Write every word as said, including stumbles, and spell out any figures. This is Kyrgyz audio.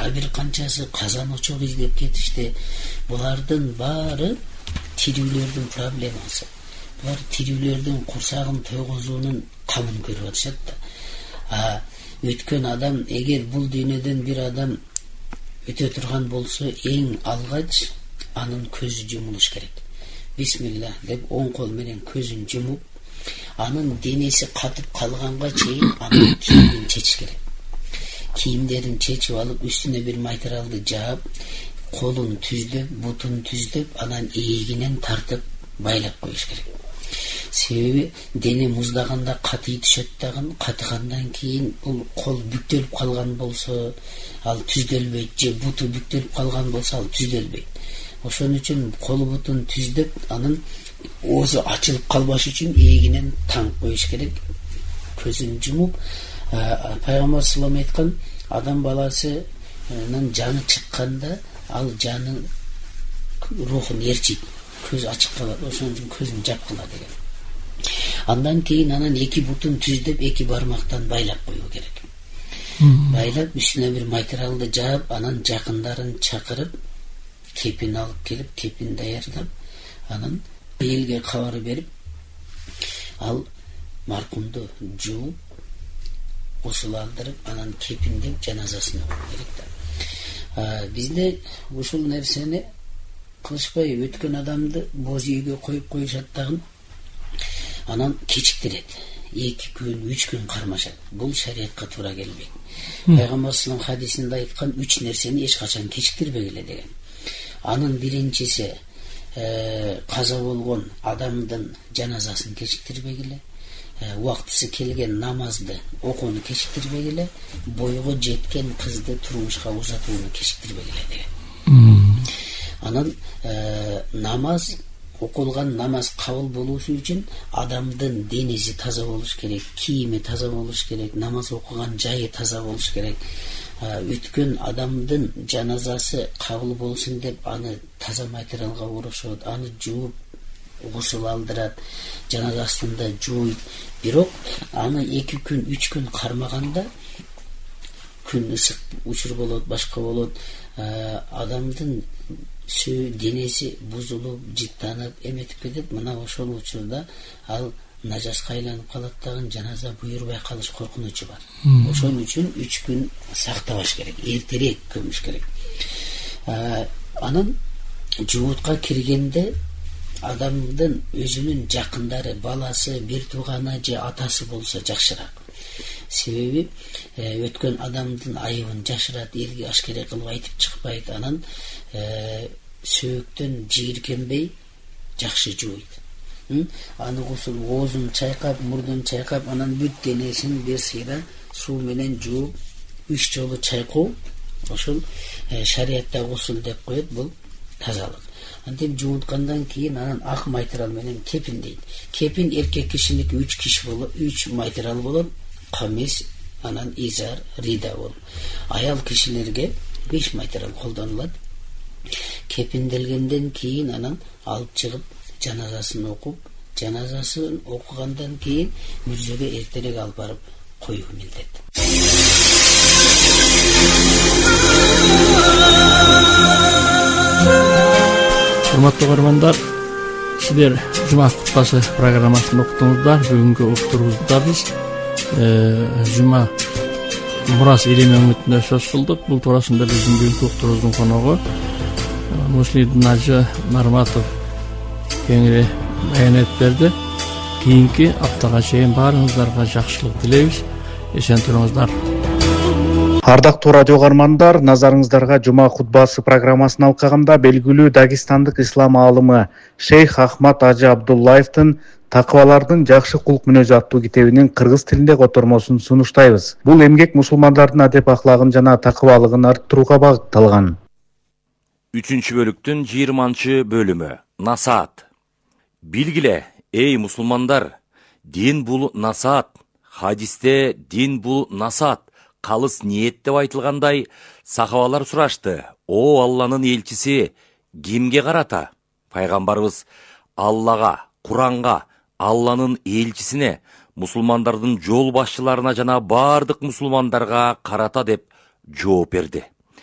дагы бир канчасы казан очок издеп кетишти. Булардын баары тирүүлөрдүн проблемасы. Булар тирүүлөрдүн курсагын тойгозуунун камын көрүп атышат да. А өткөн адам, эгер бул дүйнөдөн бир адам өтө турган болсо, эң алгач анын көзү жумулуш керек. Бисмилла деп оң кол менен көзүн жумуп, анын денеси катып калганга чейин анын кийимин чечиш керек. Кийимдерин чечип алып, үстүнө бир материалды жаап, колун түздөп, бутун түздөп, анан ийгинен тартып байлап коюш керек. Себеби дене муздаганда катый түшөт дагы, катыгандан кийин бул кол бүктөлүп калган болсо, ал түздөлбөйт, же буту бүктөлүп калган болсо, ал түздөлбөйт. Ошон үчүн кол бутун түздөп, анын оозу ачылып калбаш үчүн ийгинен таңып коюш керек. Көзүн жумуп, пайгамбар саллаллаху алейхи айткан, адам баласынын жаны чыкканда ал жаны рухун ээрчийт, көз ачык калат. Ошон үчүн көзүн жапкыла деген. Андан кийин анан эки бутун түздөп, эки бармактан байлап коюу керек. Байлап, үстүнө бир материалды жаап, анан жакындарын чакырып, кепин алып келип, кепин даярдап, анан элге кабар берип, ал маркумду жууп, гусул алдырып, анан кепиндеп жаназасын окуп керек да. Бизде ушул нерсени кылышпай, өткөн адамды боз үйгө коюп коюшат дагы, анан кечиктирет. эки күн, үч күн кармашат. Бул шариатка туура келбейт. Пайгамбар саллаллаху алейхи хадисинде айткан, үч нерсени эч качан кечиктирбегиле деген. Анын биринчиси каза болгон адамдын жаназасын кечиктирбегиле, убактысы келген намазды окууну кечиктирбегиле, бойго жеткен кызды турмушка узатууну кечиктирбегиле деген. Анан намаз, окулган намаз кабыл болушу үчүн адамдын денеси таза болуш керек, кийими таза болуш керек, намаз окуган жайы таза болуш керек. Өткөн адамдын жаназасы кабыл болсун деп аны таза материалга орошот, аны жууп, гусул алдырат, жаназасын да жууйт. Бирок аны эки күн, үч күн кармаганда, күн ысык учур болот, башка болот, адамдын сөө денеси бузулуп, жыттанып, эметип кетет. Мына ошол учурда ал нажаска айланып калат дагы, жаназа буйрубай калыш коркунучу бар. Ошон үчүн үч күн сактабаш керек, эртерээк көмүш керек. Анан жуутка киргенде адамдын өзүнүн жакындары, баласы, бир тууганы же атасы болсо жакшыраак. Себеби өткөн адамдын айыбын жашырат, элге ашкере кылып айтып чыкпайт. Анан сөөктөн жийиркенбей жакшы жууйт. Аны гусул, оозун чайкап, мурдун чайкап, анан бүт денесин бир сыйра суу менен жууп, үч жолу чайкоо, ошол шариатта гусул деп коет, бул тазалык. Антип жууткандан кийин анан ак материал менен кепин дейт. Кепин эркек кишиники үч киш болот, үч материал болот. Камис, анан изар, рида болот. Аял кишилерге беш материал колдонулат. Кепинделгенден кийин анан алып чыгып жаназасын окуп, жаназасын окугандан кийин мүрзөгө эртерээк алып барып коюу милдет. Урматтуу көрөрмандар, сиздер жума кутбасы программасын уктуңуздар. Бүгүнкү уктуруубузда биз жума мурас ирими үмүтүнө сөз кылдык. Бул туурасында биздин бүгүнкү уктуруубуздун коногу Муслим Нажы Нарматов кеңири баянат берди. Кийинки аптага чейин баарыңыздарга жакшылык тилейбиз. Эсен туруңуздар. Ардактуу радио угармандар, назарыңыздарга жума хутбасы программасын алкаганда белгилүү дагестандык ислам аалымы Шейх Ахмад Ажы Абдуллаевдин Такыбалардын жакшы кулк мүнөзү аттуу китебинин кыргыз тилинде котормосун сунуштайбыз. Бул эмгек мусулмандардын адеп аклагын жана такыбалыгын арттырууга багытталган. Үчүнчү бөлүктүн жыйырманчы бөлүмү. Насаат. Билгиле, эй мусулмандар, дин бул насаат. Хадисте дин бул насаат, калыс ниет деп айтылгандай, сахабалар сурашты: "О Алланын элчиси, кимге карата?" Пайгамбарыбыз: "Аллага, Куранга, Алланын элчисине, мусулмандардын жол башчыларына жана бардык мусулмандарга карата" деп жооп берди.